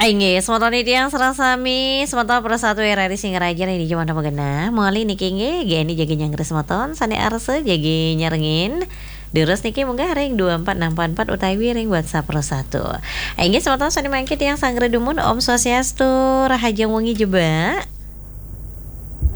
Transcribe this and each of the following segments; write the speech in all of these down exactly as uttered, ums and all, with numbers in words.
Inggih, semeton titiang sareng sami, semeton Pro satu R R I Singaraja ring dija manten magenah. Malih niki inggih, Geni jagi nyanggra semeton, sane arsa jagi nyarengin. Durus niki munggah ring dua empat enam empat empat utawi ring WhatsApp Pro satu. Inggih, semeton sane mangkin tiang sanggra dumun, Om Swastiastu, rahajeng wengi jebak.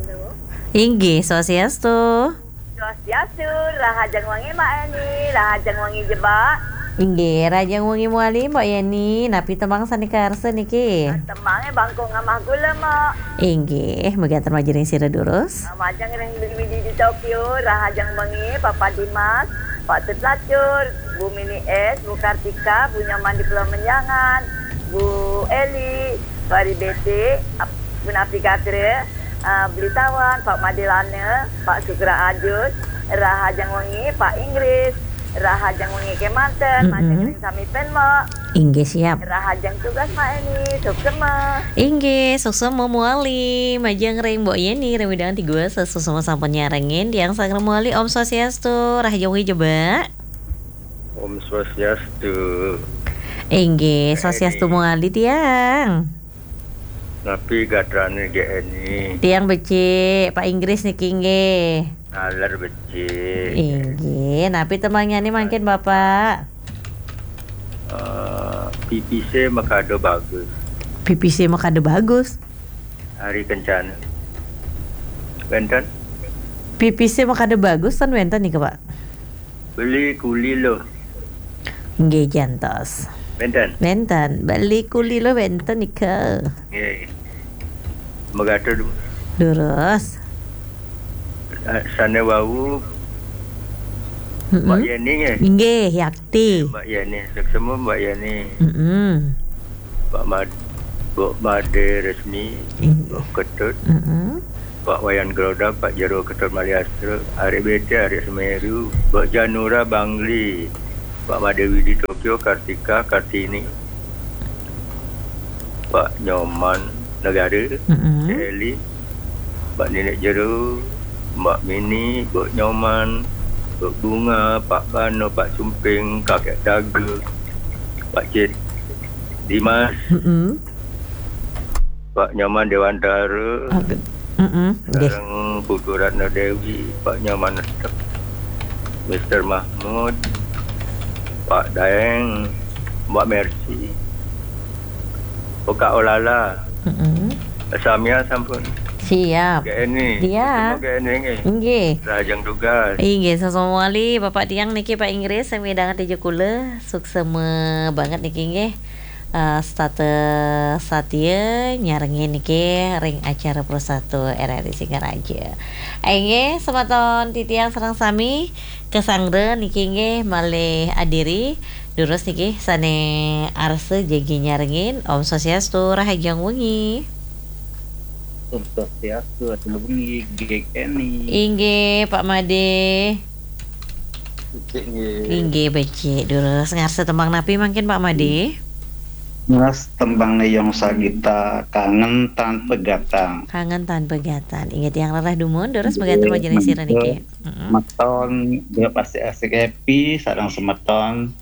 Halo. Inggih, Swastiastu. Swastiastu, rahajeng wengi Mbak Eni, rahajeng wengi jebak. Inggih, rahajeng wengi mawali Mbak Yeni, napi tembang sane karsa niki? Tembange Bangkung Amah Gula, Mbak. Inggih, mekaten majeng ring sira durus. Majeng ring Widi di Tokyo, rahajeng wengi Papa Dimas, Pak Tut Lacur, Bu Mini S, Bu Kartika, Bu Nyoman di Pulau Menjangan, Bu Eli, Pak Ribete, Ap-, Bu Napi Gatra, ah, Beli Tawan, Pak Madilana, Pak Sugra Ajus, rahajeng wengi, Pak Inggris, rahajeng wengi kemanten, mm-mm, majeng ring sami pen, Mbak. Inggih, siap. Rahajeng tugas, Mbak Eni, suksema. Inggih, suksema mawali, majeng ring Mbok Yeni, ring wewidangan Tigua, suksema sampun nyarengin, tiang sanggra mawali, Om Swastiastu, rahajeng wengi jebak. Om Swastiastu. Inggih, Mbak Swastiastu Eni. Mawali tiang. Napi gatrane G N I? Tiang becik, Pak Inggris niki nggih. Naler becik. Inggih, napi tembangnyané mangkin, Bapak? Eh, pipisé makada bagus. Pipisé makada bagus? Ari Kencana. Wénten? Pipisé makada bagus ten wénten nika, Pak? Beli kuli lo. Nggih, jantos. Wénten? Wénten. Beli kuli lo wénten nika. Nggih. Magatur. Durus. Eh, sané wau, mm-mm, Mbak Yeni nggih? Nggih, yakti. Mbak Yeni, suksema Mbak Yeni. Mm-mm. Pak Mad-, Mbok Made Resmi, inggih, Mbok Ketut, mm-mm, Pak Wayan Groda, Pak Jero Ketut Maliastra, Arek Bete, Arek Semeru, Mbok Janura Bangli, Pak Made Widi Tokyo, Kartika, Kartini, Pak Nyoman Negara, mm-mm, Cik Eli, Mbak Nenek Jero, Mbak Mini, Mbok Nyoman, Mbok Bunga, Pak Bano, Pak Sumping, Kakek Daga, Pak Cit, Dimas, mm-mm, Pak Nyoman Dewantara, oke, mm-mm, nggih, sareng Putu Ratna Dewi, Pak Nyoman Estep, Mister Mahmud, Pak Daeng, Mbak Mercy, Oka Olala. Mm-mm. Samia sampun. Siap. G N I. Iya. Ketemu G N I nggih. Nggih. Rahajeng tugas. Inggih, sasama malih Bapak tiang niki Pak Inggris, sami danget ija kula. Suksema banget niki nggih. Eh, setata satia nyarengin niki ring acara Pro satu R R I Singaraja. Inggih, semeton titiang sareng sami kasanggra niki nggih malih adiri. Durus niki sané arsa jagi nyarengin. Om Swastiastu, rahajeng wengi. Om Swastiastu, rahajeng wengi, Gek Eni. Inggih, Pak Made. Becik nggih. Inggih, becik. Durus ngarsa tembang napi mangkin, Pak Made? Mas, tembang Neyong Sagita, Kangen Tan Pegatan. Kangen Tan Pegatan. Inggih, tiang rereh dumun, durus, nggih, mekaten majeng sira niki. Mm-mm. Semeton, pasti asik happy, sareng semeton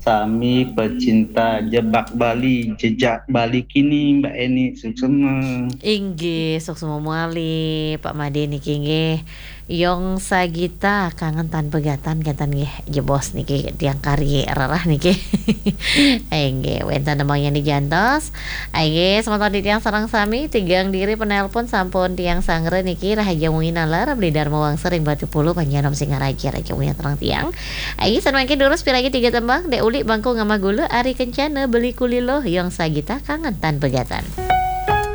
sami pecinta jebak Bali, jejak Bali kini, Mbak Eni, suksema. Inggih, suksema malih, Pak Made niki nggih. Neyong Sagita, Kangen Tan Pegatan, kenten nggih, jebos niki, tiang kari rereh niki. Inggih, wénten tembang sané jantos. Inggih, semeton titiang sareng sami, tigang diri penelpon sampun tiang sanggra niki, rahajeng wengi nalar, Beli Darma Wangsa ring Batu Pulu, Panjanom Singaraja, rahajeng wengi sareng tiang. Inggih, sané mangkin durus piragi tiga tembang, Dek Uli Bangkung Amah Gula, Ari Kencana, Beli Kuli Lo, Neyong Sagita, Kangen Tan Pegatan.